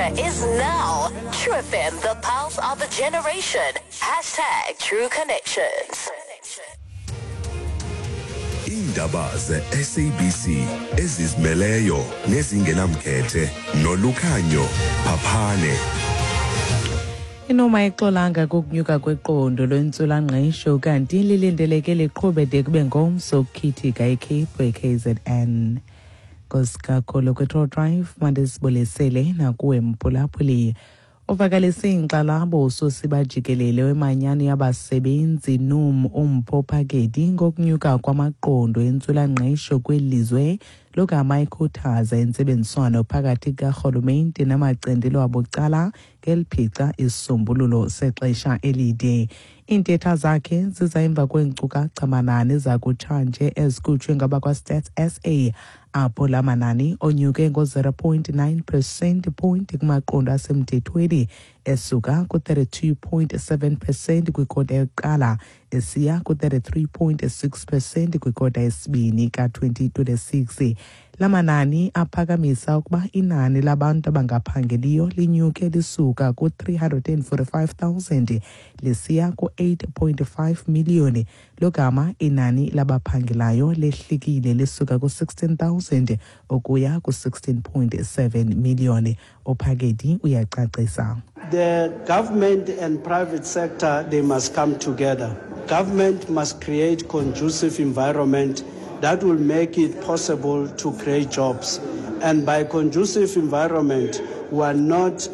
future is now. True FM, the pulse of a generation. #TrueConnections. Iindaba ze-SABC ezizimeleyo nezingenamkhethe noLukhanyo Phaphane. Inoma ixolanga kukunyuka kweqondo lwentswelangqesho, kanti lilindeleke liqhube de kube ngomso ukukhithika eCape eKZN. Nkosi kwe-Tour Drive, mandisibulisele nakuwe mphulaphuli. Uvakalise inkxalabo usosiba jikelele wemanyano yabasebenzi NUM uMpho Phakedi ngokunyuka kwamaqondo entswelangqesho kweli lizwe, logama ikhuthaza intsebenziswano phakathi kukarhulumente namacandelo abucala ngeliphica isisombululo sexesha elide. Iintetha zakhe ziza emva kweenkcukacha manani zakutshanje ezikhutshwe ngabakwaStats SA, apho la manani onyuke ngo-0.9 percent point kumaqondo asemthethweni, esuka ku-32.7 percent kwikota yokuqala esiya ku-33.6 percent kwikota yesibini ka-2026. La manani aphakamisa ukuba inani labantu abangaphangeliyo linyuke lisuka ku-345,000 lisiya ku-8.5 miliyoni, logama inani labaphangelayo lehlikile lisuka ku-16,000 ukuya ku-16.7 miliyoni. UPhakedi uyacacisa. The government and private sector, they must come together. Government must create conducive environment that will make it possible to create jobs. And by conducive environment, we are not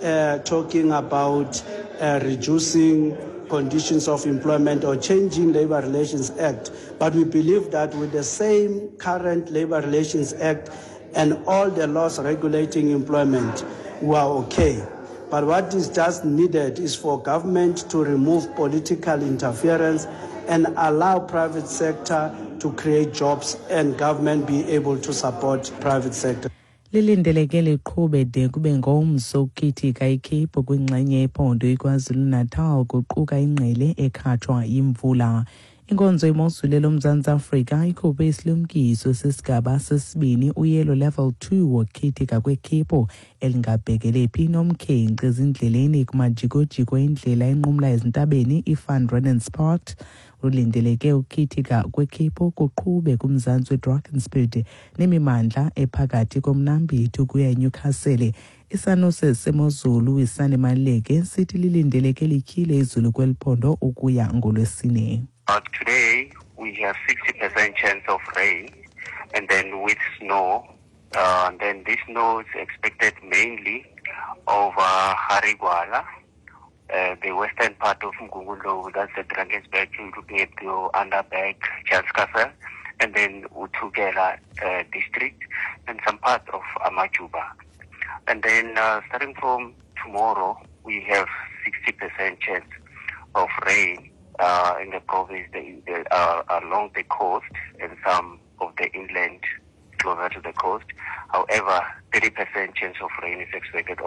talking about reducing conditions of employment or changing Labor Relations Act, but we believe that with the same current Labor Relations Act and all the laws regulating employment, we are okay. But what is just needed is for government to remove political interference and allow private sector to create jobs and government be able to support private sector. Lilindeleke liqhube de kube ngomso ukukhithika ikhephu kwingxenye yephondo iKwaZulu-Natal, kuquka ingqele ekhatshwa yimvula. Inkonzo yemozulu loMzantsi Afrika ikhuphe isilumkiso sesigaba sesibini, uyelo level 2, wokukhithika kwekhephu elingabhekele phi nomkhenkce ezindleleni kumajikojiko endlela enqumla ezintabeni iVan Reenen's Pass. Lulindeleke ukukhithika kwekhephu kuqhube kumzantsi weDrakensberg nemimandla ephakathi komnambithi ukuya eNewcastle. Isanuse semozulu iSannie Maleke sithi lilindeleke lityhile izulu kweli phondo ukuya ngoLwesine. Today we have 60% chance of rain and then with snow. And then this snow is expected mainly over Harry Gwala, the western part of Mgungundlovu, that's the Drakensberg, looking at the Underberg, Charles, and then uThukela district and some part of Amajuba. And then starting from tomorrow, we have 60% chance of rain in the province, along the coast and some of the inland closer to the coast. However, 30% chance of rain is expected.